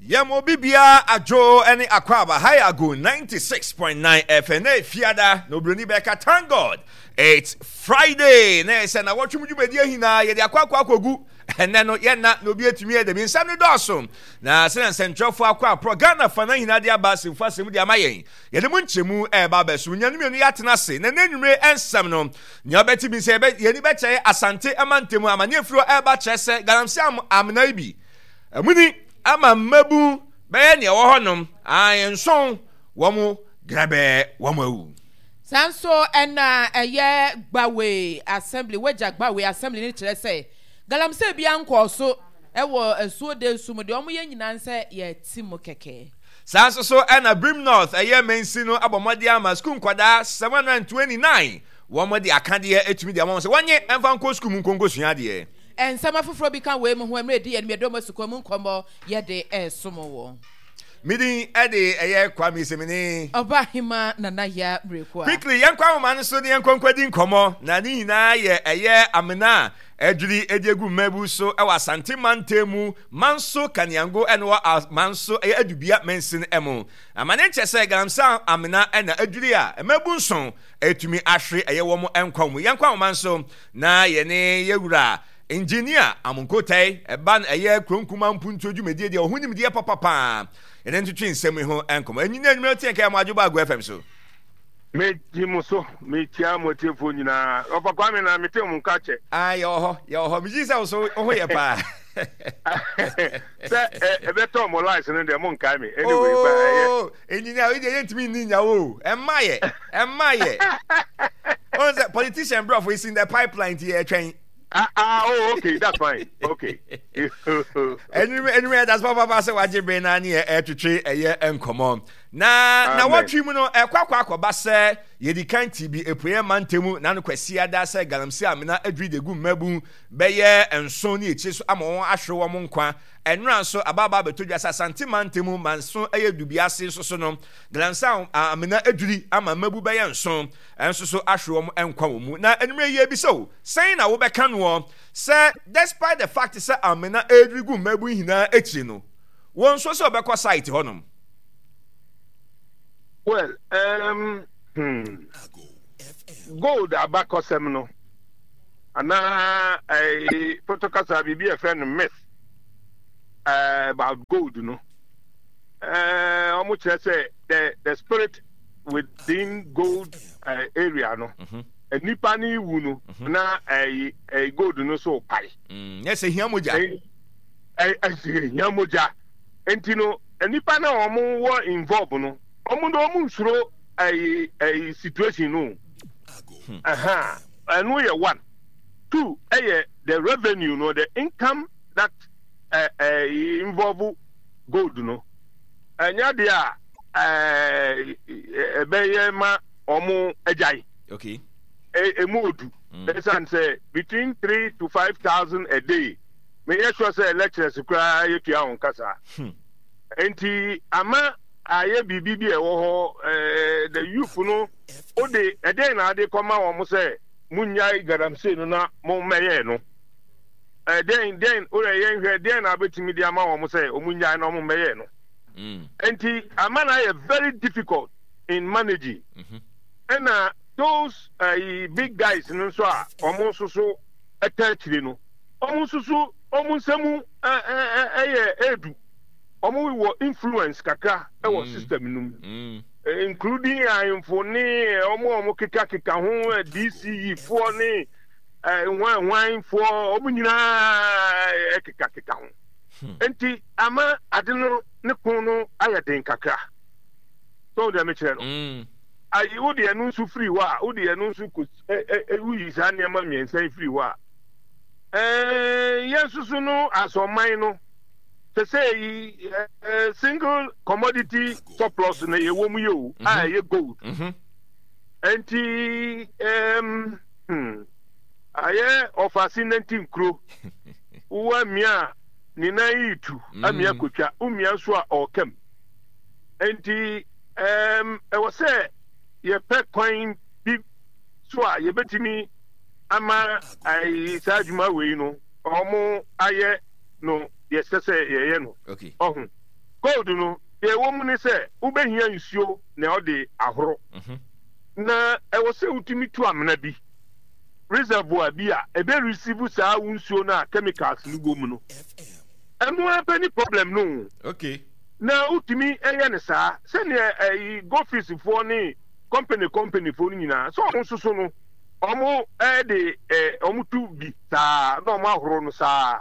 Yɛm obi biara adwo ne akwaaba hi ago 96.9 FM na efiada na obroni bɛka thank God it's Friday na ɛsɛ na wɔtwe mu dwumadi ahinaa yɛde akɔ akɔ akɔgu ɛnɛ no yɛnna na obi atumi yɛ dɛm nsɛm no dɔɔso na sɛnea nsɛntwerɛfoɔ akɔ aporɔ Ghana fa na nyinaa de aba asɛmfo asɛm de ama yɛn yɛde mu nkyɛmu ɛreba abɛso nnuanu mmienu yɛatena ase na ɛnɛ nwumere nsɛm no nea ɔbɛte bi sɛ yɛni bɛkyerɛ Asante mantam amaneɛ firi hɔ ɛreba kyerɛ sɛ galamsey amena yi bi Amuni ama mmabun bɛyɛ nea ɛwɔ hɔnom, ae, nson, wɔn grɛbɛɛ, wɔn awu. Saa nso na ɛyɛ Gbawe Assembly, Wagya Gbawe Assembly no kyerɛ sɛ galamsey biara nkɔɔ so wɔ asuo Densu mu, deɛ wɔyɛ nyinaa nsɛ yɛte mu kɛkɛ. Saa nso so na Birim North ɛyɛ mansin no abɔ mmɔden ama sukuu nkwadaa 729 wɔn de akadeɛ atumi de ama wɔn sɛ wɔnye mfa nkɔ sukuu mu nkɔ nkɔsua adeɛ. Nsɛm afoforɔ bi ka wei mu ho mmerɛ ɛdi yɛn mmiɛdɔm asukɔ mu nkɔmmɔ yɛde resom wo. Me din de ɛyɛ Kwame Semene. Ɔbahema Nana Yaa Miraku a. Quickly yɛnkɔ ahoma no so na yɛnkɔ nkɔdi nkɔmmɔ na ne nyinaa yɛ ɛyɛ amena a adwiri de agu mmabu so wɔ Asante mantam mu Manso Kaniango ɛna wɔ Manso ɛyɛ Adubia mansin mu. Amane nkyɛ sɛ galamsey amena ɛna adwiri a mmabu nson atumi ahwere ɛyɛ wɔn nkwa mu. Yɛnkɔ ahoma no so Na yɛne yɛ wura Engineer Amonkotɛe ɛba no ɛyɛ kuro nkuma mpuntuo dwumadie deɛ ɔho nimdeɛ papa paa yɛne ntwetwe nsɛm yi ho nkɔmmɔ. Engineer anwummerɛ wote yɛn ka yɛ mo adwo ba Ago FM so. Megye mo so, mekyia mo atiefoɔ nyinaa. Ɔfa Kwame na mete mo nka kyɛ. Ah, yɛwɔ hɔ, yɛwɔ hɔ. Megye sɛ wo so wo ho yɛ paa. Sɛ ɛbɛtɔ mo lies no deɛ monkae me. Anyway, ba ɛyɛ. Oh, engineer, wo deɛ yɛntumi nni nya wo. Ɛmma yɛ, ɛmma yɛ. Wɔn sɛ politician brɔfo is in the pipeline ti yɛtwɛn. Ah, ah, oh, okay, that's fine. Okay. Enwuma enwuma ɛda so papaapa sɛ wagye bere na ne yɛ ɛtwetwe ɛyɛ nkɔmɔ. Na na wɔtwe mu no ɛkɔ akɔ akɔba sɛ yɛdi kan ti bi epueɛ mantamu na no kwasi ada sɛ galamsey amena adwiri de gu mmabun bɛyɛ nson ne akyire so ama wɔn ahwere wɔn nkwa. Ɛnora nso abaabaa bɛtɔ dwa sɛ Asante mantamu manso ɛyɛ Dubiase nso so no galamsey amena adwiri ama mmabu bɛyɛ nson nso so ahwere wɔn nkwa wɔ mu. Na anwummerɛ yi yɛrebisa o, sɛn na wobɛka noɔ sɛ despite the fact sɛ amena redwiri gu mmabun nyinaa akyiri no, wɔnsuro sɛ wɔbɛkɔ site hɔnom? Well, um, hmm, gold abakɔsɛm no, anaa eh, pɔtɔ kasa biribi a ɛfrɛ no myth eh, about gold no, eh, wɔn kyerɛ sɛ the spirit within gold uh, area no mhm. nipa ne wu no mhm. na ɛyi ɛyi gold no so pae. Mm, ɛsɛ hia mogya. Ɛsɛ hia mogya nti no nipa na wɔn wɔ involve no wɔn de wɔn nsuro ɛyi ɛyi situation no hmm. ɛno yɛ one two ɛyɛ the revenue no the income that ɛɛ ɛyi involve gold no ɛnyɛ deɛ a. ɛbɛyɛ ma wɔn agyae. Okay. Emu odu. Mm. Ɛsan sɛ between 3 to 5,000 a day. Meyɛ sure sɛ lecturers koraa yɛtua wɔn kasa. Nti ama ayɛ biribi bi a ɛwɔ hɔ ɛɛ the youth no o de ɛdɛn na ade kɔma wɔn sɛ munnyae galamsey no na mo mmɛyɛ no. Ɛdɛn dɛn o yɛ yɛn hwɛ dɛn na abɛtumi de ama wɔn sɛ wɔn nnyae na wɔn mmɛyɛ no. Nti ama no ayɛ very difficult in managing. Ɛna those uh, big guys no nso a wɔn nso so ɛta akyire no, wɔn nso so wɔn nsɛm ɛyɛ edu. Wɔn wɔ influence kakra ɛwɔ system no mu. Including ahemfo ne wɔn a wɔn keka keka ho DCE foɔ ne hwan hwan foɔ wɔn nyinaa ɛkeka keka ho. Nti ama ade no ne ko no ayɛ den kakra. So deɛ mekyerɛ no. Ayi wo deɛ no nso firi hɔ a, wo deɛ no nso kɔ ɛ woyi saa nneɛma mmiɛnsa yi firi hɔ a, ɛɛ yɛn nso so no asɔman no sɛ sɛ yi ɛɛ single commodity surplus na yɛwɔ mu yɛ o a ɛyɛ gold. Nti ɛɛm ayɛ ɔfaase nanti nkuro wo amia a ne nan yi tu amia kotwa womia nso a ɔɔkam. Nti ɛɛm ɛwɔ sɛ yɛpɛ kwan bi so a yɛbɛtumi ama ayi saa adwuma wei no wɔn ayɛ no deɛ ɛsɛ sɛ yɛyɛ no. Ɔho. Gold no, deɛ ɛwɔ mu ne sɛ wobɛhia nsuo na ɔde ahoro. Na ɛwɔ sɛ wotumi tu amena bi, reservoir bi a ɛbɛ receive saa wo nsuo no a chemicals no wɔ mu no. Ɛno ara pɛ ne problem no o. Okay. Na wotumi yɛ no saa sɛdeɛ ɛyi Goldfields foɔ ne company company foɔ no nyinaa sɛ wɔn nso so no wɔn de wɔn tu bi saa na wɔn ahoro no saa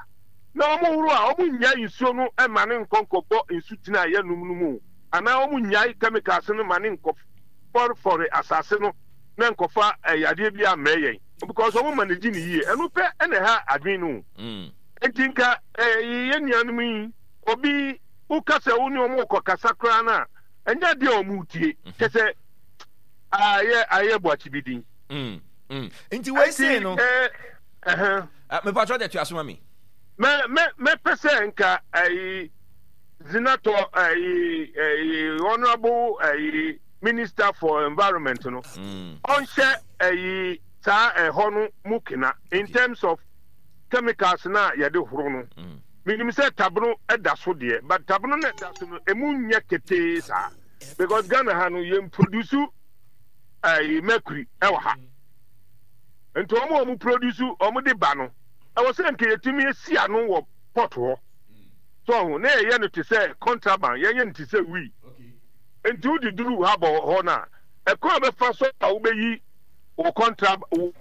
na wɔn horo a wɔn nnyae nsuo no ma no nkɔ nkɔbɔ nsutene a yɛnom no mu anaa wɔn nnyae chemicals no ma no nkɔ fɔrefɔre asase no na nkɔfa yadeɛ bi ammrɛ yɛn because wɔn manage no yie ɛno pɛ na ɛha adwene no o. Enti nka yɛn nuanom yi, obi woka sɛ wo ne wɔn rekɔkasa koraa no a, ɛnyɛ adeɛ a wɔretie. Mhm. Kyɛ sɛ ayɛ ayɛ boakye bi din. Mm, mm. Nti wei sei no. Ɛhɛn. Mepatwɔ de toa so ma me. Mɛ mɛ mɛpɛ sɛ nka ɛyi zinatɔ ɛyi ɛyi honourable ɛyi minister for environment no. Mm. Ɔnhyɛ ɛyi saa ɛhɔ no mu kena in terms of chemicals no a yɛde horo no, menim sɛ tabono da so deɛ, but tabono no ɛda so no, emu nyɛ ketee saa. Because Ghana ha no, yɛn produce ɛyi mercury ɛwɔ ha. Nti wɔn a wɔn produce wɔn de ba no, ɛwɔ sɛ nka yɛtumi esi ano wɔ port hɔ. So ɔho, na yɛyɛ no te sɛ contraband, yɛnyɛ no te sɛ wii. Nti wode duru ha bɔ hɔ no a, ɛkwan a bɛfa so a wobɛyi wo contra wo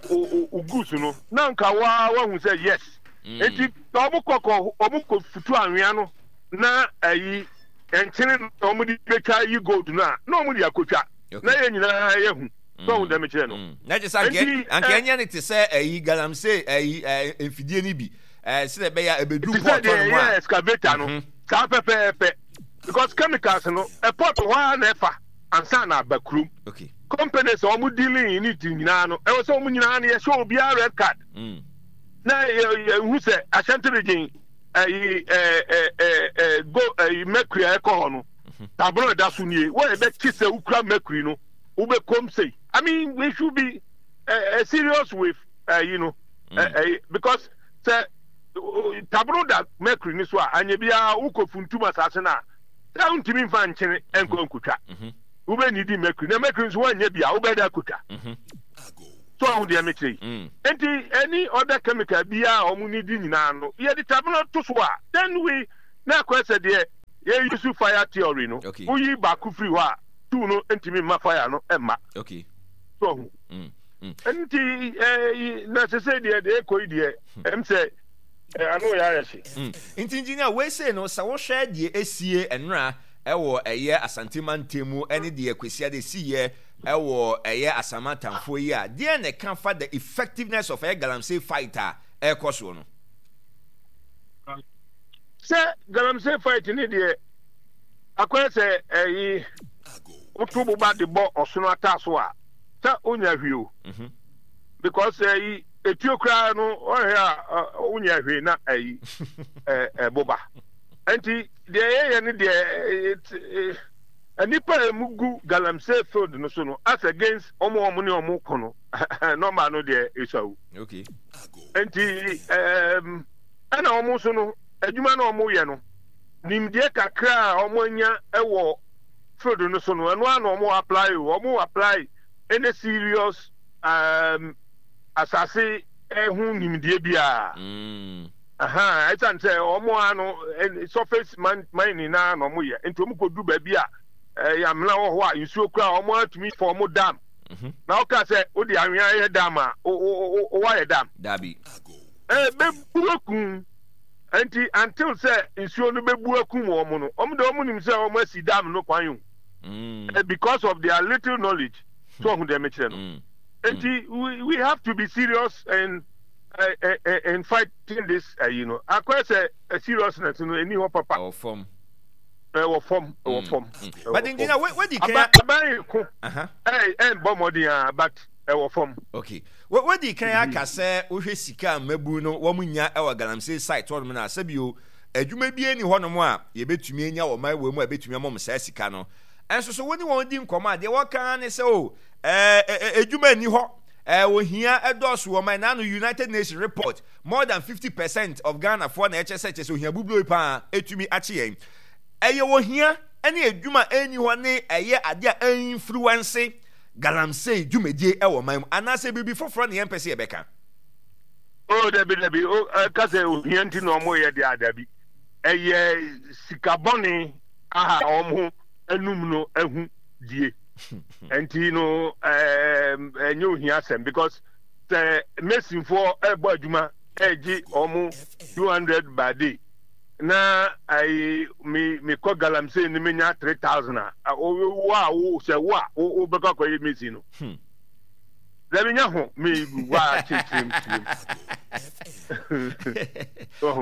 wo goods no na nka waa wahu sɛ yes mm. nti na wɔn kɔ kɔ wɔn kɔ futu anwea no na ayi nkyene na wɔn de betwa yi gold no a na wɔn de akotwa na yɛn nyinaa yɛ hu sɛ wɔn dɛm kyerɛ no. Mm. Na kyerɛ sɛ anka anka eh. ɛnyɛ ne te sɛ ayi galamsey ayi eh, mfidie no bi ɛɛ eh, sɛ ɛbɛyɛ a ɛbɛduru pɔtɔ no mu a. Te sɛ deɛ ɛyɛ excavator no mhm. saa pɛpɛɛpɛ because chemicals no ɛpɔt hɔ ara na ɛfa. ansa na aba kurom. Okay. Companies a wɔn dealing in it nyinaa no, ɛwɔ sɛ wɔn nyinaa no yɛhyɛ obiara red card. Mm. Na yɛ yɛhu sɛ Ashanti region ɛyi ɛɛ ɛɛ ɛɛ go ɛyi mercury a ɛkɔ hɔ no, mhm. tabolo ɛda so nie. Wɔn ɛbɛkye sɛ wokura mercury no, wobɛkɔm sei. I mean we should be uh, serious with ɛyi no, ɛyi because sɛ tabolo da mercury ni so a, anyɛ biara wokɔ funtum asase no a. Sɛ wontumi mfa nkyene nkɔ nkotwa, wobɛnidi mercury, na mercury nso woannya bi a wobɛda akotwa. So ɔho deɛ mekyerɛ yi. Mm. Nti any other chemical biara a wɔn nidi nyinaa no, yɛde tabena to so a, then we na akɔyɛ sɛ deɛ yɛ use fire theory no. Okay. Woyi baako firi hɔ a, two no ntumi mma fire no mma. Okay. So ɔho. Mm. Mm. Nti eh, na sese deɛ deɛ ɛkɔ yi deɛ, ɛm sɛ Ano yɛ ayɛ hye. Mm. Nti engineer wei sei no sɛ wohwɛ deɛ esie ɛnora ɛwɔ ɛyɛ Asante mantam mu ɛne deɛ Kwasiada esiiɛ ɛwɔ ɛyɛ Asaman atamfoɔ yi a deɛn na ɛka fa the effectiveness of ɛyɛ galamsey fight a ɛrekɔ soɔ no? Sɛ galamsey fight ne deɛ akɔyɛ sɛ ɛyi woto boba de bɔ ɔsono ataaso a sɛ wonya hwee o. Mhm. Because ɛyi Etuo koraa no ɔhwɛ a wonyɛ hwee na ayi ɛboba. Nti deɛ yɛyɛ no deɛ nnipa a emu gu galamsey field no so no as against wɔn a wɔn ne wɔn ko no nɔmba no deɛ esua Okay. Nti ɛna wɔn nso no adwuma na wɔn yɛ no nimdeɛ kakra a wɔn anya wɔ field no so no ɛno ara na wɔn apply o wɔn apply any serious um, asase ho nimdeɛ biara. Mm. Aha, ɛsiane sɛ wɔn a no surface mining na na wɔn yɛ, nti wɔn kɔdu baabi a ɛyɛ amena wɔ hɔ a nsuo kura wɔn atumi fɔm dam. Mhm. Na ɔka sɛ wode anwea yɛ dam a, woayɛ dam. Dabi. Ɛbɛbu akum. Nti until sɛ nsuo no bɛbu akum wɔn no, wɔn de wɔn nim sɛ wɔn asi dam no kwan o. Mm. Because of their little knowledge. So ɔho deɛ mekyerɛ no. Mm. Nti we we have to be serious in uh, uh, in fighting this uh, you know. Akɔyɛ sɛ uh, seriousness no ɛni hɔ papa. Ɛwɔ fam. Ɛwɔ fam, ɛwɔ fam. But engineer, wait, wait, can aban ko. Ɛɛ ɛn bɔ mmɔden a but ɛwɔ fam. Okay. Wadi kan aka sɛ wohwɛ sika a mmabu no wɔn nya ɛwɔ galamsey site hɔnom na sɛbio adwuma bi ani hɔnom a yɛbɛtumi anya wɔ man wɔ mu a ɛbɛtumi ama wɔn saa sika no. Ɛnso so wo ne wɔn di nkɔmmɔ a deɛ wɔka ara ne sɛ o ɛɛ adwuma nni hɔ ɛɛ ohia ɛdɔɔso wɔ man na ano United Nations report more than 50 percent of Ghanafoɔ na ɛkyɛ sɛ kyɛ sɛ ohia buburo yi paa ɛtumi akye yɛn. Ɛyɛ ohia ne adwuma a ɛnni hɔ ne ɛyɛ adeɛ a ɛinfluence galamsey dwumadie wɔ ɔman mu anaasɛ biribi foforɔ na yɛmpɛ sɛ yɛbɛka? Oh, dabi, dabi. O, ɛka sɛ ohia nti na wɔyɛ deɛ a, dabi. Ɛyɛ sika bɔne a wɔn anum no ahu die. Nti no, ɛnyɛ ohia asɛm because sɛ masonfoɔ ɛbɔ adwuma ɛgye wɔn 200 by day na ayi me mekɔ galamsey no menya 3000 a, wo a wo sɛ wo a wobɛkɔ akɔyɛ mason no. Hmm. Dabi nya ho me wa kyerɛkyerɛm kyerɛm.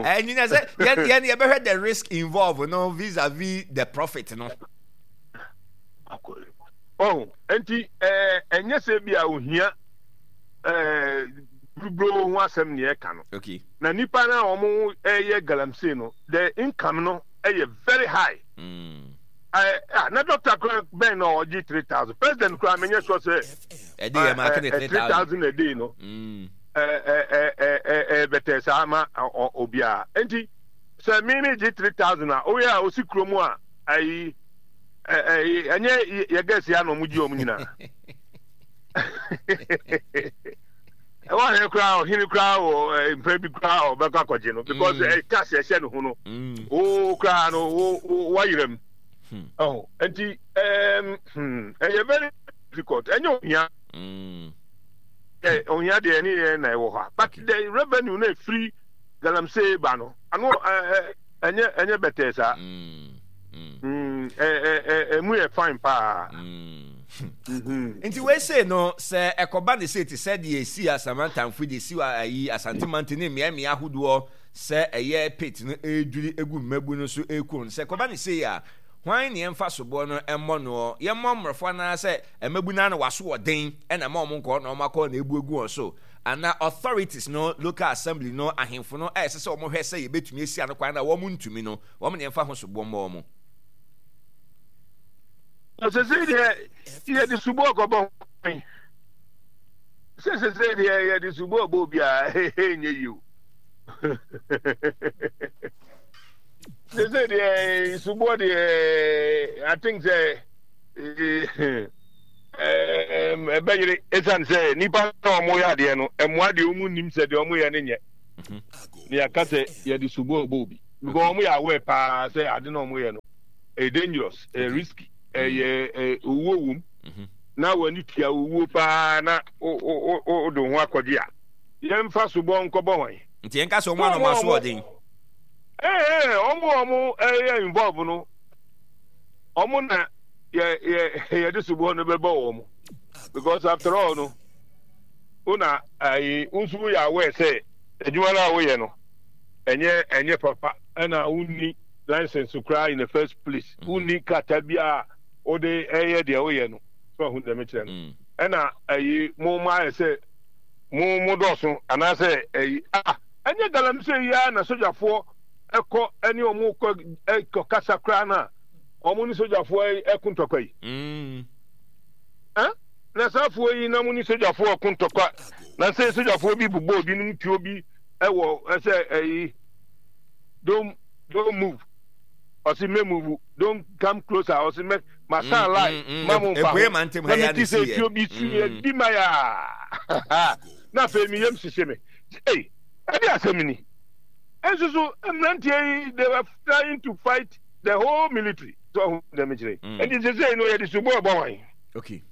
Ɛnyina sɛ yɛn yɛn yɛbɛhwɛ the risk involved no vis-a-vis the profit no. Oh, nti ɛɛ ɛnyɛ sɛ bi a ohia ɛɛ buruburo ho asɛm na yɛka no. Okay. Na nipa na wɔn ɛyɛ galamsey no the income no ɛyɛ very high. Mm. Ah, na doctor kura bɛn na ɔgye 3000 president kura menyɛ sure sɛ ɛde yɛ maake ne 3000 a day no ɛɛ bɛtɛ saa ma obiara nti sɛ me me gye 3000 a oyɛ a osi kurom a ayi ɛɛ ɛnyɛ yɛ gɛsi a na ɔmo gye ɔmo nyinaa ɛwɔ ahene koraa ɔhene koraa wɔ mpɛ bi koraa ɔbɛkɔ akɔgye no because ɛ tax ɛhyɛ ne ho no wo koraa no wo wayerɛ mu ɔho nti ɛɛm ɛyɛ very difficult ɛnyɛ ohia ɛ ohia deɛ ɛne yɛ na ɛwɔ hɔ a but the revenue na efiri galamsey ba no ano ɛ ɛnyɛ ɛnyɛ bɛtɛɛ saa ɛ ɛ ɛmu yɛ fine paa. Nti wei sei no, sɛ ɛkɔba ne sei te sɛ deɛ ɛsii Asamantamfo deɛ ɛsi ayi Asante Mante ne mmeammea ahodoɔ sɛ ɛyɛ pit no ɛredwiri egu mmabu no so ɛreku no, sɛ ɛkɔba ne sei a, hwan ne yɛmfa soboɔ no mmɔ noɔ? Yɛmmɔ mmorɔfo anaa sɛ mmabu no ara na wɔaso ɔden na ɛma wɔn nkɔ na wɔn akɔ na ɛbu agu wɔn so? Anaa authorities no, local assembly no, ahemfo no a ɛsɛ sɛ wɔhwɛ sɛ yɛbɛtumi asi ano kwan na wɔn ntumi no, wɔn ne yɛmfa ho soboɔ mmɔ wɔn? Sesei deɛ yɛde subɔɔ kɔbɔ hwan? Sɛ sesei deɛ yɛde subɔɔ bɔ obi a ɛnyɛ yie o. Sesei deɛ subɔɔ deɛ I think sɛ ɛbɛyere ɛsiane sɛ nnipa na wɔyɛ adeɛ no mmoa deɛ wɔn nim sɛ deɛ wɔyɛ no nyɛ. Na yɛaka sɛ yɛde subɔɔ bɔ obi because wɔn yɛ aware paa sɛ ade na wɔyɛ no ɛyɛ dangerous ɛyɛ risky ɛyɛ mm. owuo wom mhm. na w'ani tua owuo paa na wode ho akɔgye a yɛmfa sobɔ nkɔbɔ hwan nti yɛnka sɛ ɔmo anoma so ɔden ɛɛ ɔmo ɔmo ɛyɛ involve no ɔmo na yɛ yɛ yɛde sobɔ no bɛbɔ wɔn because after all no wona ayi nso woyɛ aware sɛ adwuma no a woyɛ no ɛnyɛ ɛnyɛ papa ɛna wonni license koraa in the first place mm. wonni krataa bi a wode ɛyɛ deɛ woyɛ no so ahu deɛ mekyerɛ no mm. ɛna ɛyi mo mo ayɛ sɛ mo mo dɔɔso anaasɛ ɛyi ah ɛnyɛ galamsey yi ara na sogyafoɔ ɛkɔ ɛne wɔn kɔ ɛkɔ kasa koraa na wɔn ne sogyafoɔ ɛko ntɔkwa yi mm. ɛn na saafoɔ yi na mo ne sogyafoɔ ɛko ntɔkwa na sɛ sogyafoɔ bi bobɔ obinom tuo bi ɛwɔ ɛsɛ ɛyi don't don't move ɔsi mɛ move don't come closer ɔsi mɛ ma san mm, line mm, mm. ma mo nfa ho na mi ti sɛ etuo bi su yɛ di ma yaa na afei mi yam sise mi ee ɛdi asɛm ni nso so mmeranteɛ yi they were trying to fight the whole military so ɔho dɛm kyerɛ ɛnti sese yi no yɛde subɔ ɛbɔ wɔn. Okay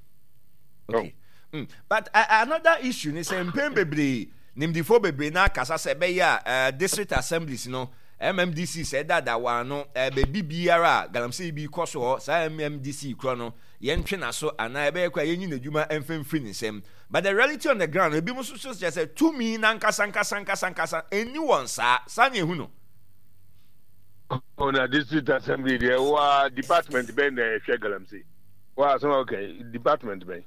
okay oh. But another issue ni sɛ mpɛn bebree. Nimdefoɔ bebree no ara kasa sɛ ɛbɛyɛ a district assemblies no, MMDCs ɛdaadaa wɔn ano, baabi biara a galamsey bi rekɔ so hɔ, saa MMDC korɔ no, yɛntwe n'aso anaa ɛbɛyɛ koraa yɛnyi n'adwuma mfa mfiri ne nsam. But the reality on the ground no, ebinom nso so kyerɛ sɛ tumi no ankasa ankasa ankasa ankasa ɛnni wɔn saa. Saa na yɛhu no. Oh, na district assembly deɛ wa department bɛn na ɛhwɛ galamsey? Wa asɛm a woka department bɛn?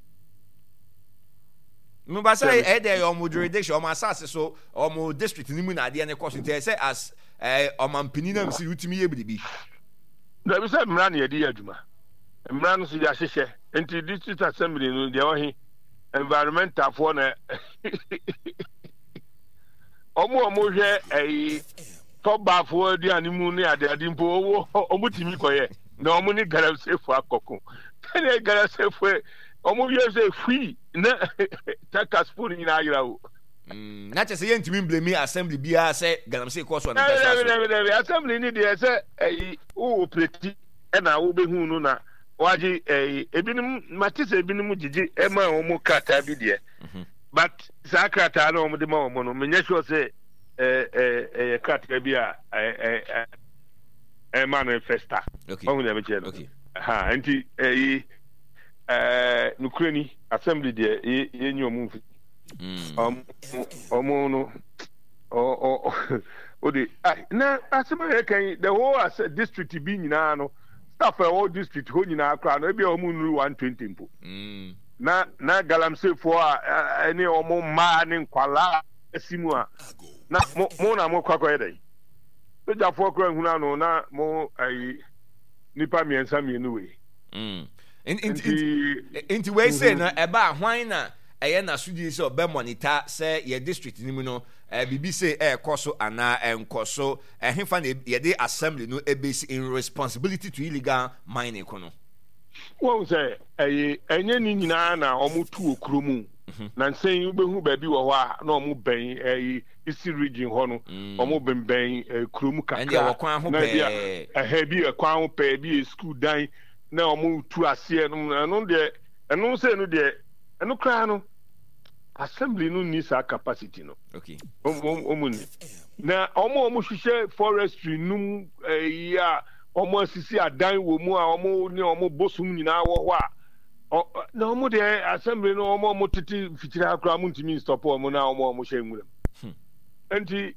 Meba sɛ ɛyɛ dɛ ɛyɛ ɔmo jurisdiction, ɔmo asase so, ɔmo district no mu na adeɛ no kɔ so nti ɛyɛ sɛ as ɛɛ ɔmampanin na msi wotumi yɛ biribi. Dabi sɛ mmara na yɛde yɛ adwuma. Mmara no so yɛahyehyɛ nti district assembly no deɛ ɔhe environmentalfoɔ na ɔmo a ɔmo hwɛ ɛyi. Tɔbaafoɔ aduane mu ne adeade mpo ɔwɔ ɔmo tumi kɔyɛ na ɔmo ne galamseyfoɔ akɔko sɛdeɛ galamseyfoɔ ɔmo yɛ sɛ fui na takasfoɔ no nyinaa ayera o. Mm, na kyerɛ sɛ yɛntumi mblemi assembly biara sɛ galamsey kɔɔ so a ne mpɛ so aso. Dabi dabi assembly ni deɛ sɛ ɛyi wo operate ɛna wobɛhu no na wagye ɛyi ebinom mate sɛ ebinom gyegye ɛma wɔn krataa bi deɛ mhm. but saa krataa na wɔn de ma wɔn no menyɛ sure sɛ ɛyɛ krataa bi a ɛma no festa ɔhu deɛ mekyerɛ no ha nti ɛyi nokorɛ ni assembly deɛ yɛnyi ɔmo mfi ɔmo no o de na asɛm a yɛka yi the whole district bi nyinaa no staff a ɛwɔ district hɔ nyinaa koraa no ebi a ɔmo nnuru 120 mpo mm. na na galamseyfoɔ a ɛne ɔmo mmaa ne nkwalaa asi mu a, na mo mo na mokɔ akɔyɛ dɛn? Sogyafoɔ koraa nhunu ano na mo ayi nipa mmiɛnsa mmienu wei. Mm. Nti nti wei sei no mhm. ɛba a hwan na ɛyɛ n'asodie sɛ ɔbɛ monitor sɛ yɛ district no mu no eh, biribi sei ɛrekɔ so anaa ɛnkɔ so ɛhefa na yɛde assembly no ɛbɛsi in responsibility to illegal mining ko no. Wɔn sɛ ɛyɛ ɛnyɛ ne nyinaa na wɔn tu wɔ kuro mu. Mhm. Nansa yi wobɛhu baabi wɔ hɔ a na wɔn bɛn ɛyi Eastern region hɔ no mm. wɔn bɛnbɛn eh, kurom kakra na ebi a ɛhɛ bi yɛ kwan ho pɛɛ bi yɛ sukuu dan na wɔn tu aseɛ no ɛno deɛ ɛno sɛ ɛno deɛ ɛno koraa no assembly no nni saa capacity no wɔn nni na wɔn a wɔn hyehyɛ forestry num ɛyi a wɔn asisi adan wɔ mu a wɔn ne wɔn bosom nyinaa wɔ hɔ a. Na wɔn deɛ assembly no wɔn a wɔn tete mfikyire ha koraa wɔn ntumi nstop wɔn na wɔn a wɔn hyɛ nwura mu. Hmm. Nti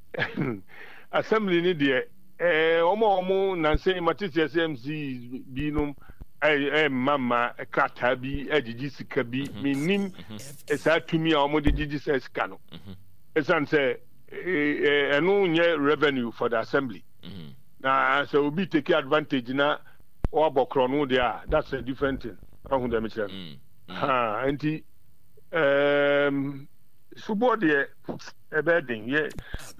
assembly no deɛ ɛɛ wɔn a wɔn nansa yi mate sɛ SMC bi nom ɛɛ mma mma krataa bi ɛgyegye sika bi mhm. menim mhm. saa tumi a wɔn de gyegye saa sika no mhm. ɛsan sɛ ɛno nyɛ revenue for the assembly na sɛ obi take advantage na. Wɔabɔ korɔno deɛ a, that's a different thing. Wahu deɛ mekyerɛ no? Mm, mm. Ha, nti, um, sobɔ deɛ ɛbɛyɛ den. Yɛ,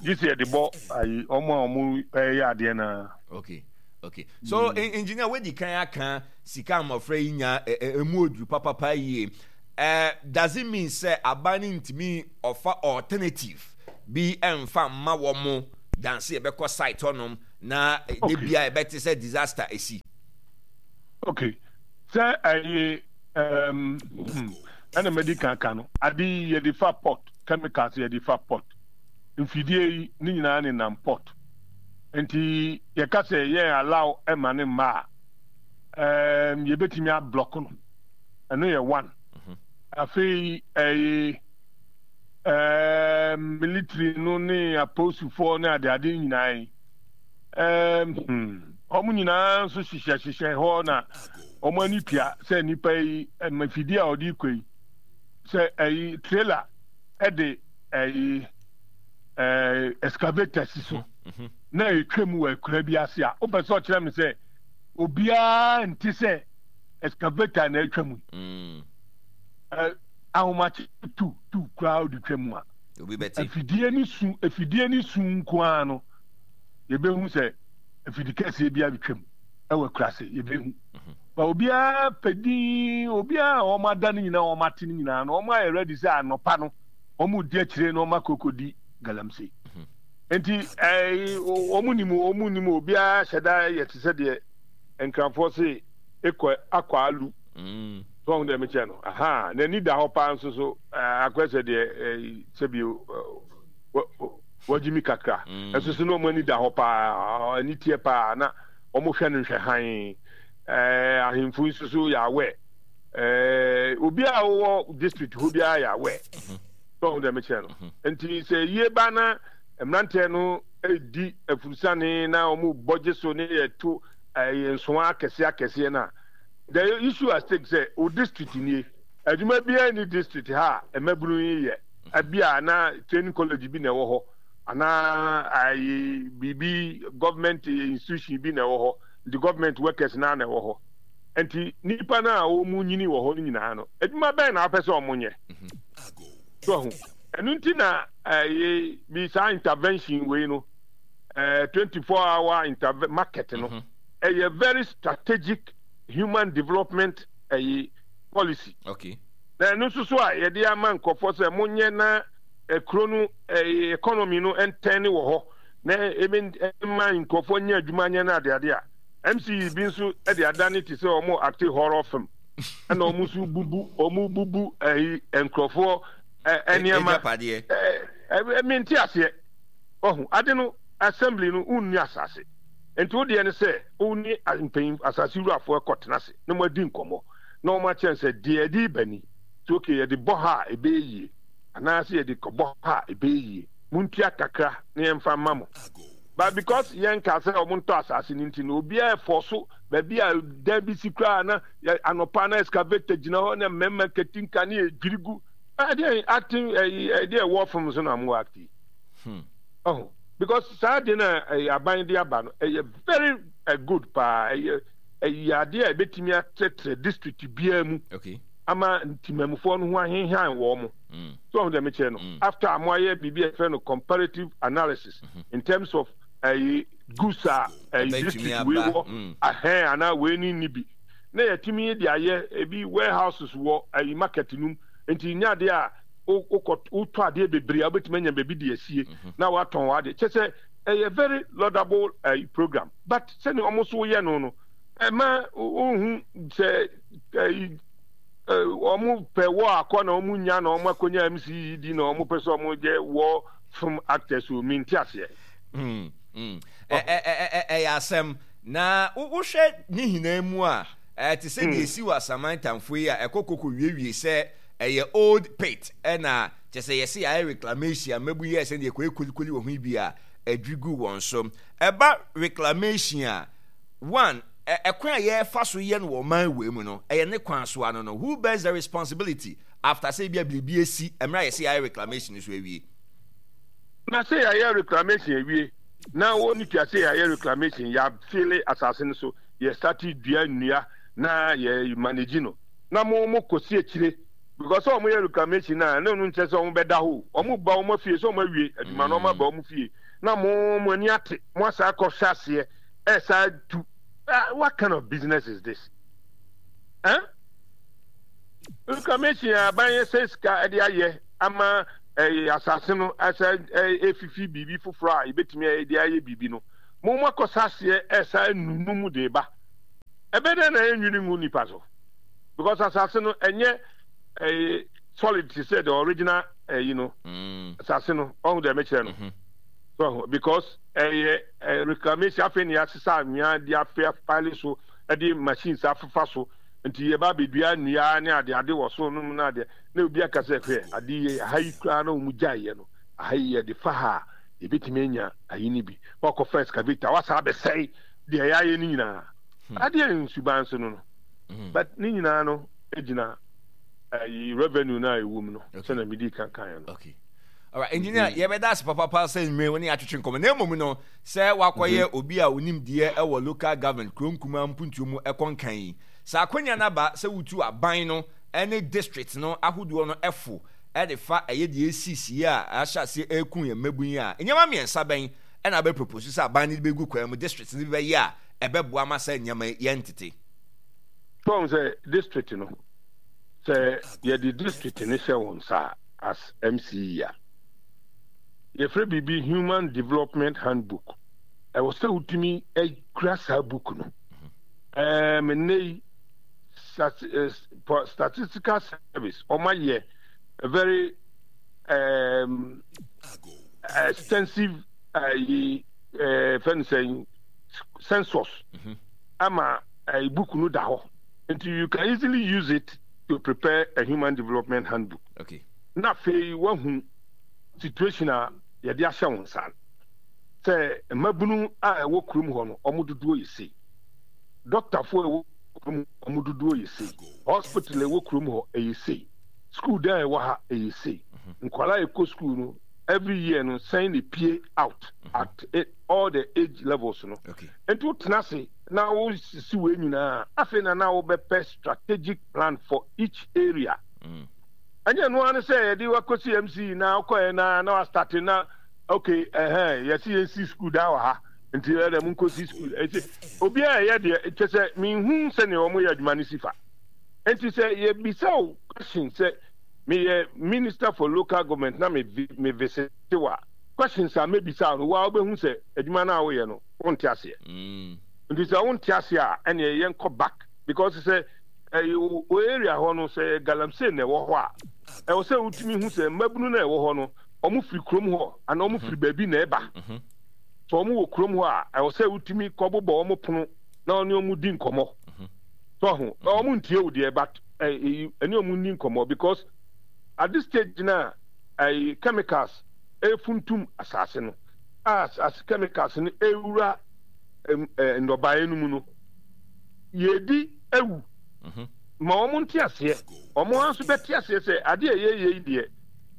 gye sɛ yɛde bɔ ayi, wɔn a wɔn ɛyɛ adeɛ no Okay, okay. So, mm. engineer, wedi kan aka sika mmɔfra yi nya emu oduru papapa yie. Uh, does it mean sɛ aban no ntumi ɔfa alternative bi ɛmfa mma wɔn danse yɛbɛkɔ site hɔnom na de bia ɛbɛte sɛ disaster esi. Okay, sɛ ɛyɛ um, hmm, ɛna mɛdi kan ka no, ade yi yɛde fa port, chemicals yɛde fa port, mfidie yi ne nyinaa ne nam port, nti yɛka sɛ yɛn allow ɛma ne mma a, um, yɛbɛtumi ablɔk no, ɛno yɛ one. Mhm. Afei ɛyɛ um, military no ne apolisifoɔ ne adeade nyinaa yi um, hmm, wɔn nyinaa nso hyehyɛ hyehyɛ hɔ na wɔn ani tua sɛ nnipa yi mafidie a wɔde kɔ yi sɛ ɛyi trailer ɛde ɛyi ɛɛ excavator si so mhm. na etwa mu wɔ akura bi ase a wopɛ sɛ ɔkyerɛ mi sɛ obiara nte sɛ excavator na atwa mu yi. Mm. Ahomakye tu tu koraa wode twa mu a, afidie ne su afidie ne su nko ara no yɛbɛhu sɛ afidi kɛseɛ bi abɛtwam ɛwɔ akurase yɛbɛhu. Mhm. Ba obiara pɛ din obiara a wɔn ada no nyinaa wɔn ate no nyinaa no wɔn ayɛ ready sɛ anɔpa no wɔn di akyire na wɔn akɔkɔdi galamsey. Mhm. Nti ɛɛ wɔn nim wɔn nim obiara hyɛ da yɛ te sɛ deɛ nkranfoɔ se ekɔ akɔ alu. Mm. So ɔho deɛ mekyɛ no? Ahaa, n'ani da hɔ paa nso so, akɔyɛ sɛ deɛ sɛbi wagye mi kakra. Mm. Ɛso so na wɔn ani da hɔ paa, ani teɛ paa, na wɔn hwɛ no nhwɛ hann. Ahemfo nso so yɛ awɛ. Obi a wɔwɔ district hɔ biara yɛ awɛ. Mhm. So ɔho deɛ mekyerɛ no? Mhm. Nti sɛ yie ba na mmeranteɛ no di afurusane na wɔn bɔ gye so ne yɛto nsoa akɛseɛ akɛseɛ no a, The issue at stake sɛ wo district nie, adwuma biara nni district ha a mmabunu yi yɛ, ebia na training college bi na ɛwɔ hɔ anaa ayi biribi government institution bi na ɛwɔ hɔ, nti government workers naa na ɛwɔ hɔ. Nti nipa no a wɔn nyini wɔ hɔ no nyinaa no, adwuma bɛn na wopɛ sɛ wɔn nyɛ? So ho, ɛno nti na ɛyɛ bi saa intervention wei no. 24 hour interve market no, ɛyɛ very strategic human development ɛyi policy. Okay. Na ɛno nso so a yɛde ama nkurɔfoɔ sɛ monyɛ na kuro no economy no ntɛn wɔ hɔ na ebe mma nkurɔfoɔ nyɛ adwuma nyɛ no adeade a MCE bi nso de adane te sɛ wɔn acte horror film ɛna wɔn nso bubu wɔn bubu ɛyi nkurɔfoɔ nneɛma ɛɛ mente aseɛ ɔho ade no assembly no wonni asase nti wo deɛ ne sɛ wo ne mpanyin asase wurafoɔ ɛkɔ tena ase na mo adi nkɔmmɔ na wɔn akyerɛ sɛ deɛ ɛde ba ni nti okay yɛde bɔ ha a ɛbɛyɛ yie anaasɛ yɛde kɔbɔ ha a ɛbɛyɛ yie montua kakra na yɛmfa mma mo but because yɛn ka sɛ wɔn ntɔ asase no nti no obiara ɛfɔ so baabi a dan bi si koraa na anɔpa na excavator gyina hɔ na mmarima katinka ne edwiri gu ɛdeɛ acting ɛyi ɛdeɛ ɛwɔ fam so na mo act yi ɔho because saa adeɛ na ɛyɛ aban de aba no ɛyɛ very good paa ɛyɛ ɛyɛ adeɛ a ɛbɛtumi atrɛtrɛ district biara mu okay. ama ntimamufoɔ no ho ahenhan wɔn mo so ɔho deɛ mekyerɛ no after a mo ayɛ biribi a yɛfrɛ no comparative analysis in terms of ɛyi goods a ɛyi district wei wɔ ahɛn anaa wei ne nni bi na yɛtumi de ayɛ ebi warehouses wɔ ɛyi market no mu nti nyɛ adeɛ a wokɔ wotɔ adeɛ bebree a wobɛtumi anya baabi de asie na watɔn w'adeɛ kyɛ sɛ ɛyɛ very laudable ɛyi program but sɛnea wɔn nso yɛ no no ɛma wohu sɛ ɛyi wɔn pɛ wɔ akɔ na wɔn nya na wɔn akɔnya MCE di na wɔn pɛ sɛ wɔn yɛ wɔ film actors o mi nti aseɛ. Ɛyɛ asɛm na wohwɛ ne nyinaa mu a ɛte sɛ deɛ esi wɔ asaman tamfo yi a ɛkɔ koko wiewie sɛ ɛyɛ old pit ɛna kyɛ sɛ yɛse yɛayɛ reclamation a mmabu yɛɛ sɛ deɛ ɛkɔyɛ kolikoli wɔ ho yi bi a adwiri gu wɔn so. Ɛba reclamation a one ɛkwan a yɛfa so yɛ no wɔ ɔman wei mu no ɛyɛ ne kwan so ano no who bears the responsibility after sɛ ebi a biribi esi mmerɛ a yɛse yɛayɛ reclamation so awie. Na sɛ yɛayɛ reclamation awie na wɔn tua sɛ yɛayɛ reclamation yɛafele asase no so yɛ start dua nnua na yɛ manage no na mo mo kɔsi akyire because sɛ wɔn yɛ reclamation na ɛno no nkyerɛ sɛ wɔn bɛda hɔ wɔn ba wɔn afie sɛ wɔn awie adwuma na wɔn aba wɔn fie na mo mo ani ate mo asa akɔ hyɛ aseɛ ɛsa tu. What kind of business is this? Eh? Reclamation a aban yɛ sɛ sika de ayɛ ama ɛyɛ asase no ɛsɛ efifi biribi foforɔ a ebetumi de ayɛ biribi no. Mo mo akɔsa aseɛ ɛsa nunu mu de ba. Ɛbɛ dɛ na ɛnwiri ngu nipa so because asase no ɛnyɛ ɛyɛ solid te sɛ the original ɛyi no. Asase no ɔho deɛ mekyerɛ no. So because ɛyɛ reclamation afei na yɛasesa anwea de afe apaele so de machines afefa so nti yɛba abɛdua nnua ne ade ade wɔ so nom na adeɛ na obi aka sɛ hwɛ ade yi aha yi koraa na wɔn gyaeɛ no aha yi yɛde fa ha a yɛbɛtumi anya ayi no bi wakɔfa excavator wasa abɛsɛe deɛ yɛayɛ no nyinaa adeɛ nsuban so no no but ne nyinaa no gyina ayi revenue no a ɛwɔ mu no sɛnea medi kan kan no. Okay. Alright, engineer, mm-hmm. yɛbɛda ase papapa sɛ nnwuma wo ne atwetwe nkɔmmɔ. Na mmom no, sɛ wakɔyɛ mm-hmm. obi a onim deɛ ɛwɔ local government kuro nkumaa mpuntuo mu ɛkɔ nkan yi. Sɛ akwanya no aba sɛ wotu aban no ne district no ahodoɔ no ɛfo ɛde fa ɛyɛ deɛ esisi a ahyɛ aseɛ ɛreku yɛn mmabun yi a, nneɛma mmiɛnsa bɛn ɛna abɛ propose sɛ aban no de bɛgu kwan mu district no bɛyɛ a ɛbɛboa ma sɛ nneɛma yi yɛntete. Sɛ sɛ district no sɛ yɛde district no hyɛ wɔn nsa a as MCE a, yɛfrɛ biribi Human Development Handbook. Ɛwɔ sɛ wotumi kura saa book no. Ɛɛm nnɛ yi Statistical Service wɔn ayɛ a very um, extensive ɛyi ɛɛ fɛn sɛn census ama ɛyi book no da hɔ nti you can easily use it to prepare a human development handbook. Okay. Na afei wahu situation a yɛde ahyɛ wo nsa no. Sɛ mmabunu a ɛwɔ kurom hɔ no, wɔn dodoɔ yɛ sei. Dɔktafoɔ a ɛwɔ kurom hɔ, wɔn dodoɔ yɛ sei. Hospital a ɛwɔ kurom hɔ, ɛyɛ sei. School dan a ɛwɔ ha, ɛyɛ sei. Nkwadaa a ɛkɔ school no, every year no, sɛn na epie out at all the age levels no. Okay. Nti wotena ase na wosisi wei nyinaa, afei na na wobɛpɛ strategic plan for each area. Ɛnyɛ ɛno ara ne sɛ yɛde wakɔsi MC na wokɔɛ na na wastate na. Okay, ɛhɛn, yɛse yɛnsi sukuu dan wɔ ha, nti ɛdɛ monkɔsi sukuu. Ɛsɛ obiara ɛyɛ deɛ, kyɛ sɛ menhu sɛdeɛ wɔn yɛ adwuma no si fa. Nti sɛ yɛbisa wo question sɛ meyɛ minister for local government na me me visit wo a, questions a mɛbisa wo no, wo ara wobɛhu sɛ adwuma no a woyɛ no, wonte aseɛ. Nti sɛ wonte aseɛ a, ɛneɛ yɛnkɔ back because sɛ ɛyɛ wo area hɔ no, sɛ galamsey na ɛwɔ hɔ a, ɛwɔ sɛ wotumi hu sɛ mmabunu no a ɛwɔ hɔ no, wɔfiri kurom hɔ anaa wɔfiri baabi na ɛba. Sɛ wɔwɔ kurom hɔ a, ɛwɔ sɛ wotumi kɔbobɔ wɔn pono na wɔne wɔn di nkɔmmɔ. So ho, wɔn ntie wo deɛ, but ɛne wɔn nni nkɔmmɔ because at this stage na ɛyi chemicals efuntum asase no a as chemicals no ewura nnɔbaeɛ no mu no, yɛdi awu. Ma wɔn nte aseɛ, wɔn ara nso bɛte aseɛ sɛ adeɛ a yɛyɛ yi deɛ.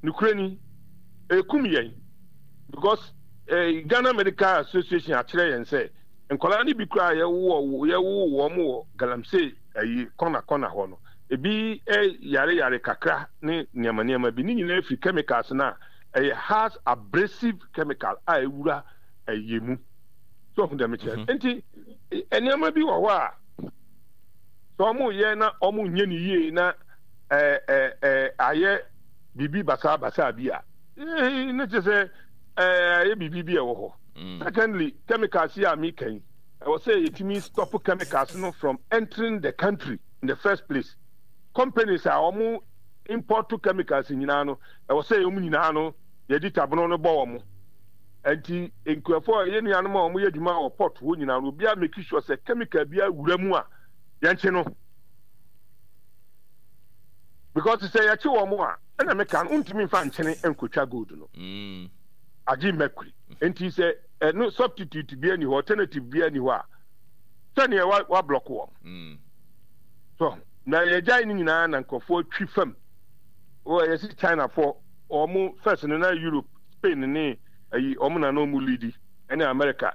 Nokorɛ ni, ɛrekum yɛn because eh, Ghana Medical Association akyerɛ yɛn sɛ nkwadaa no bi koraa yɛwowɔ yɛwoo wɔn wɔ galamsey ayi kɔna kɔna hɔ no, ebi eh, yare yare kakra ne nneɛma nneɛma bi. Ne nyinaa firi chemicals no a ɛyɛ has abrasive chemical a ɛwura ɛyɛ mu. So ɔho deɛ mekyerɛ. Nti nneɛma bi wɔ hɔ a sɛ wɔyɛ na wɔnyɛ no yie na ɛɛ ayɛ biribi basaabasaa bi a, ne kyerɛ sɛ ayɛ biribi bi a ɛwɔ hɔ. Secondly, chemicals yi a meka yi, ɛwɔ sɛ yɛtumi stop chemicals no from entering the country in the first place. Companies a wɔn import chemicals nyinaa no, ɛwɔ sɛ wɔn nyinaa no yɛde tabono no bɔ wɔn. Nti nkurɔfoɔ a yɛn nuanom a wɔyɛ adwuma wɔ port hɔ nyinaa no, obiara make sure sɛ chemical bi awura mu a yɛnkye no. Because sɛ yɛkye wɔn a, ɛna meka no, wontumi mfa nkyene nkotwa gold no. Agye mercury. Nti sɛ ɛno substitute bi ani hɔ, alternative bi ani hɔ a, sɛdeɛ wa wa block wɔn. So na yɛgyae ne nyinaa na nkurɔfoɔ twi fam. Wɔ yɛsi Chinafoɔ, wɔn first no na Europe, Spain ne ayi wɔn na na wɔn leadi ɛne America.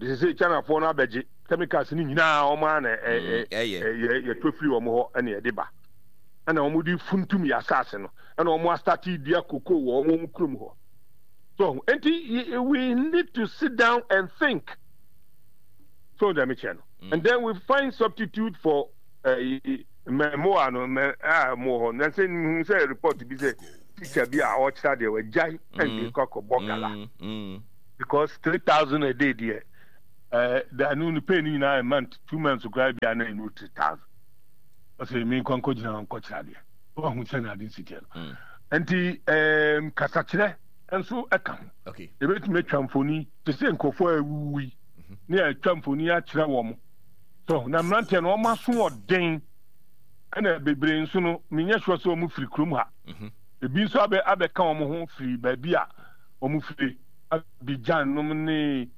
De sɛ Chinafoɔ no abɛgye. Chemicals no nyinaa wɔn ara na ɛyɛ yɛtɔ firi wɔn hɔ ɛna yɛde ba ɛna wɔn de funtum yɛ asaase no ɛna wɔn asate dua koko wɔ wɔn kurom hɔ so nti we need to sit down and think so deɛ mekyerɛ no and then we find substitute for mmoa no mɛ a mo hɔ na sɛ nhu sɛ report bi sɛ teacher bi a ɔkyerɛ adeɛ wagyae ɛnde kɔ akɔbɔ gala because 3000 a day deɛ. Eh, da no ne pay no nyinaa a month, 2 months koraa bia na ɛnu 3000. Ɔsɛ me nkɔ nkɔ gyina hɔ nkɔ kyerɛ adeɛ. Wahu sɛ na ade nsi teɛ no. Nti eh, kasakyerɛ nso ɛka ho. Ebetumi atwa mfoni te sɛ nkurɔfoɔ a awuwu yi ne atwa mfoni akyerɛ wɔn. So na mmeranteɛ no wɔn aso ɔden ɛna bebree nso no menyɛ sure sɛ wɔn firi kurom ha. Ebi nso abɛ abɛka wɔn ho firi baabi a wɔn firi Abidjan nom ne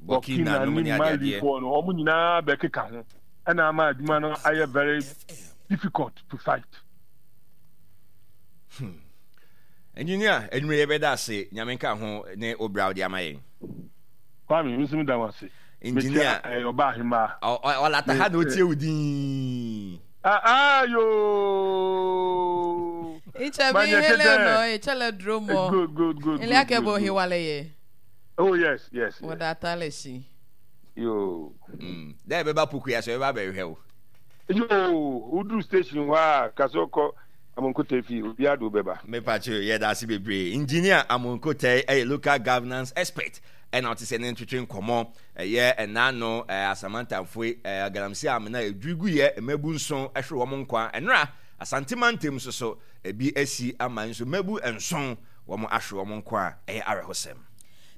Burkina ne Mali foɔ no wɔn nyinaa bɛkeka ho ɛna ama adwuma no ayɛ very difficult to fight. Engineer, anwummerɛ yɛbɛda ase. Nyame nka ho ne wo bra wode ama yɛn. Kwame, me nso meda wo ase. Engineer. Mekyia ɔba ahemaa. Ɔlata ha na otie wo din. Ah, ah, yoo. Icha bi hele no, icha le dromo. Good, good, good. Ile akebo hiwale ye. Oh yes, yes. yes. Wɔda atale si. Yoo. Dɛ ɛbɛba Pokuya so ɛbɛba abɛhwehwɛ wo. Yoo, woduru station hɔ a, ka sɛ wokɔ Amonkotei fie, obiara de wo bɛba. Mepakyɛw, yɛda ase bebree. Engineer Amonkotei yɛ local governance expert ɛna ɔte sɛ ne ntwetwe nkɔmmɔ ɛyɛ ɛnaano Asamantamfoe galamsey amena a ɛdwiri guiɛ mmabu nson ɛhwere wɔn nkwa ɛnora Asante mantam nso so ebi asi ama nso mmabu nson wɔn ahwere wɔn nkwa a ɛyɛ awerɛhosɛm.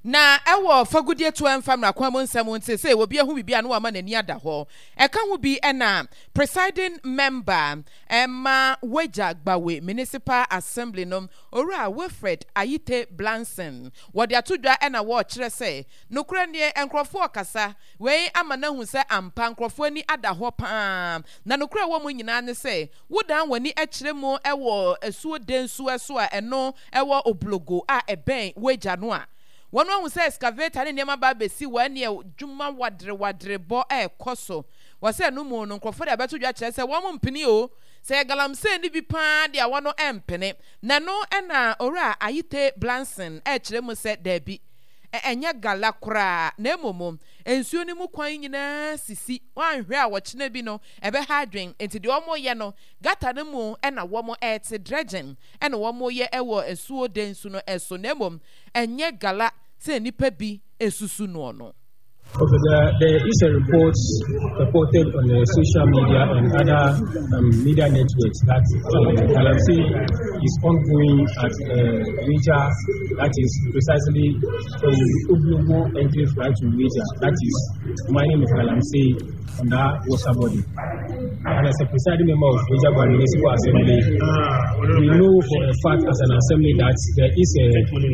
Na ɛwɔ fagudeɛ tuo ɛmfa mmara kwan mu nsɛm nti sɛ obi ahu biribi a na wama n'ani ada hɔ. Ɛka ho bi na Presiding Member ma Wagya Gbawe Municipal Assembly no, Owura Wilfred Ayite Blanson, wɔde ato dwa na wɔrekyerɛ sɛ nokorɛ nie nkorɔfoɔ rekasa, wei ama no ahu sɛ ampa nkorɔfoɔ ani ada hɔ pa ara na nokorɛ a ɛwɔ mu nyinaa ne sɛ wodan w'ani kyerɛ mu wɔ asuo Densuo so a ɛno wɔ Oblogo a ɛbɛn Wagya no a, wɔn ahu sɛ excavator ne nneɛma ba abɛsi hɔ ɛneɛ dwuma wadere wadere bɔ ɛrekɔ so. Wɔ sɛ ɛno mu no nkurɔfoɔ de abɛto dwa kyerɛ sɛ wɔn mpene o. Sɛ ɛyɛ galamsey no bi pa ara deɛ a wɔn mpene. Na ɛno na Owura Ayite Blankson rekyerɛ mu sɛ daabi, ɛnyɛ gala koraa na mmom nsuo no mu kwan nyinaa sisi, woanhwɛ a ɔkyena bi no ɛbɛha adwene. Enti deɛ wɔreyɛ no, gutter no mu na wɔrete, dredging na wɔreyɛ wɔ asuo Densu no so na mmom ɛnyɛ gala sɛ nnipa bi susu noɔ no. Okay, there is a report reported on the social media and other media networks that Galamsey is ongoing at Weija, that is precisely from Oblogo enclave right to Weija, that is mining of Galamsey on that water body. And as a presiding member of Weija Municipal Assembly, we know for a fact as an assembly that there is a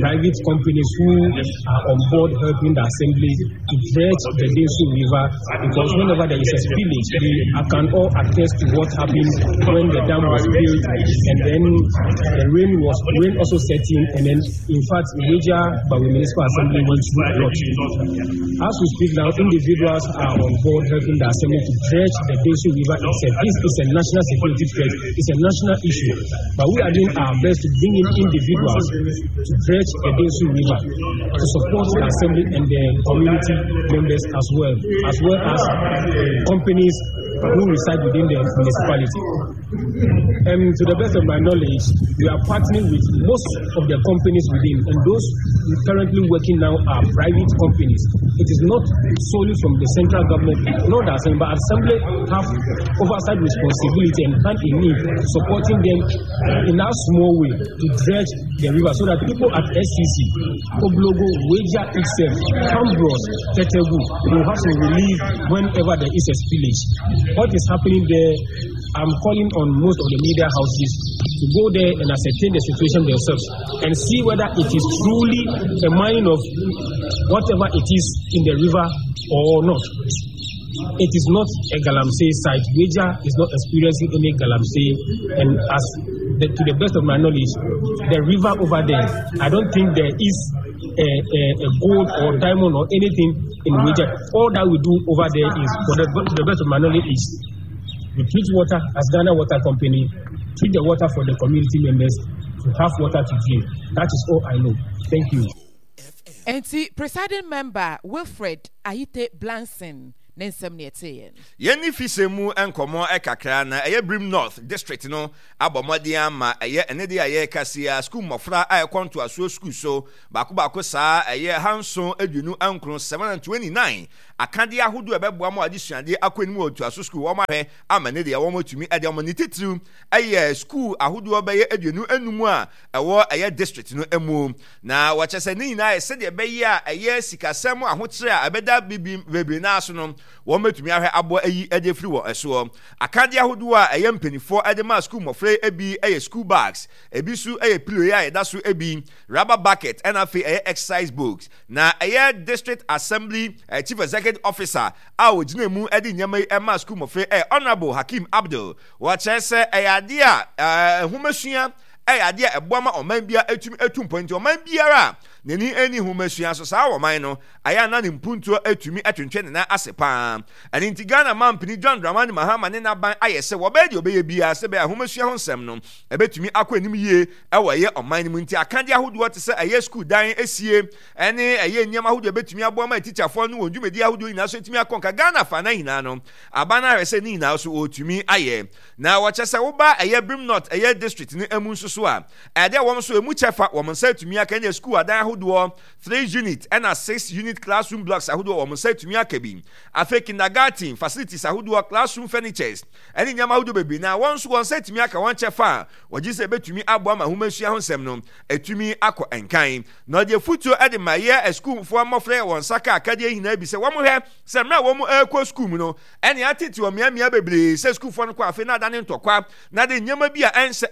private companies who are on board helping the assembly to dredge the Densu River, because whenever there is a spillage, we can all attest to what happened when the dam was built, and then the rain also set in, and then in fact Weija Gbawe Municipal Assembly went through a lot. As we speak now, individuals are on board helping the assembly to dredge the Densu River itself. This is a national security threat, it's a national issue, but we are doing our best to bring in individuals to dredge the Densu River to support the assembly and the community members as well, as well as companies who reside within the municipality. And to the best of my knowledge, we are partnering with most of the companies within, and those currently working now are private companies. It is not solely from the central government, not the assembly, but assembly have oversight responsibility and hand in need, supporting them in that small way to dredge the river so that people at SCC, Oblogo, Weija itself, Cambros, Tetegu will have some relief whenever there is a spillage. What is happening there, I'm calling on most of the media houses to go there and ascertain the situation themselves and see whether it is truly a mining of whatever it is in the river or not. It is not a Galamsey site. Weija is not experiencing any Galamsey, and to the best of my knowledge, the river over there, I don't think there is a gold or diamond or anything in Weija. All that we do over there is, to the best of my knowledge, is we treat water as Ghana Water Company, treat the water for the community members to have water to drink. That is all I know. Thank you. Enti presiding member Wilfred Ayite Blankson ne nsɛm ne ɛteeɛ no. Yɛn fisɛm mu nkɔmmɔ kakra na ɛyɛ Birim North District no abɔ mmɔden ama ɛyɛ ɛne deɛ a yɛreka si a sukuu mmɔfra a ɛkɔ ntoasoɔ sukuu so baako baako saa ɛyɛ 729, 729 akadeɛ ahodoɔ a ɛbɛboa ma adesuadeɛ akɔ anim wɔ ntoaso sukuu wɔn ahwɛ ama ne deɛ wɔn atumi ɛde wɔn ne titiriw ɛyɛ sukuu ahodoɔ bɛyɛ 25 a ɛwɔ ɛyɛ district no mu. Na wɔkyɛ sɛ ne nyinaa yɛ sɛdeɛ ɛbɛyɛ a ɛyɛ sikasɛm ahokyerɛ a ɛbɛda bibi bebree naa so no, wɔn bɛtumi ahwɛ aboa ayi de afiri wɔn soɔ. Akadeɛ ahodoɔ a ɛyɛ mpanimfoɔ de ma sukuu mmɔfra yi bi yɛ school bags, ebi nso yɛ pillow yi a yɛda so bi, rubber bucket ɛna afei ɛyɛ exercise books. Na ɛyɛ District Assembly Chief Executive Officer a ɔgyina mu de nneɛma yi ma sukuu mmɔfra yi yɛ Honourable Hakeem Abdul. Wɔkyerɛ sɛ ɛyɛ adeɛ a nhomasua yɛ adeɛ a ɛboa ma ɔman biara tumi tu mpɔn. Nti ɔman biara a n'ani nni nhomasua so, saa ɔman no, ayɛ a na ne mpuntuo atumi atwentwɛn ne nan ase pa ara. Ɛno nti Ghana mampanin John Dramani Mahama ne n'aban ayɛ sɛ wɔbɛyɛ deɛ wɔbɛyɛ biara sɛ ɛbɛyɛ a nhomasua ho nsɛm no ɛbɛtumi akɔ anim yie wɔ ɛyɛ ɔman no mu. Nti akadeɛ ahodoɔ te sɛ ɛyɛ sukuu dan sie ne ɛyɛ nneɛma ahodoɔ a ɛbɛtumi aboa ma atikyafoɔ no wɔn dwumadie ahodoɔ nyinaa so atumi akɔ nka Ghana afa no nyinaa no, aban no ahwɛ sɛ ne nyinaa so wɔtumi ayɛ. Na wɔkyɛ sɛ woba ɛyɛ Birim North ɛyɛ district no mu nso so a, ɛdeɛ wɔn nso emu kyɛfa wɔn nsa atumi aka ɛne sukuu adan ahodoɔ 3 unit ɛna 6 unit classroom blocks ahodoɔ wɔn nsa atumi aka bi. Afei kindergarten facilities ahodoɔ, classroom furnitures ɛne nneɛma ahodoɔ bebree na wɔn nso wɔn nsa atumi aka wɔn kyɛfa a wɔgye sɛ ebetumi aboa ma ahomasua ho nsɛm no atumi akɔ nkan. Na ɔde afutuo ɛde ma yɛ asukuufoɔ mmɔfra yɛ wɔn nsa ka akadeɛ nyinaa bi sɛ wɔn hwɛ sɛ mmerɛ a wɔn ɛrekɔ sukuu mu no ɛne atete wɔ mmeammea bebree sɛ sukuufoɔ no kɔ afe na adane ntɔkwa na de nneɛma bi a ɛnsɛ.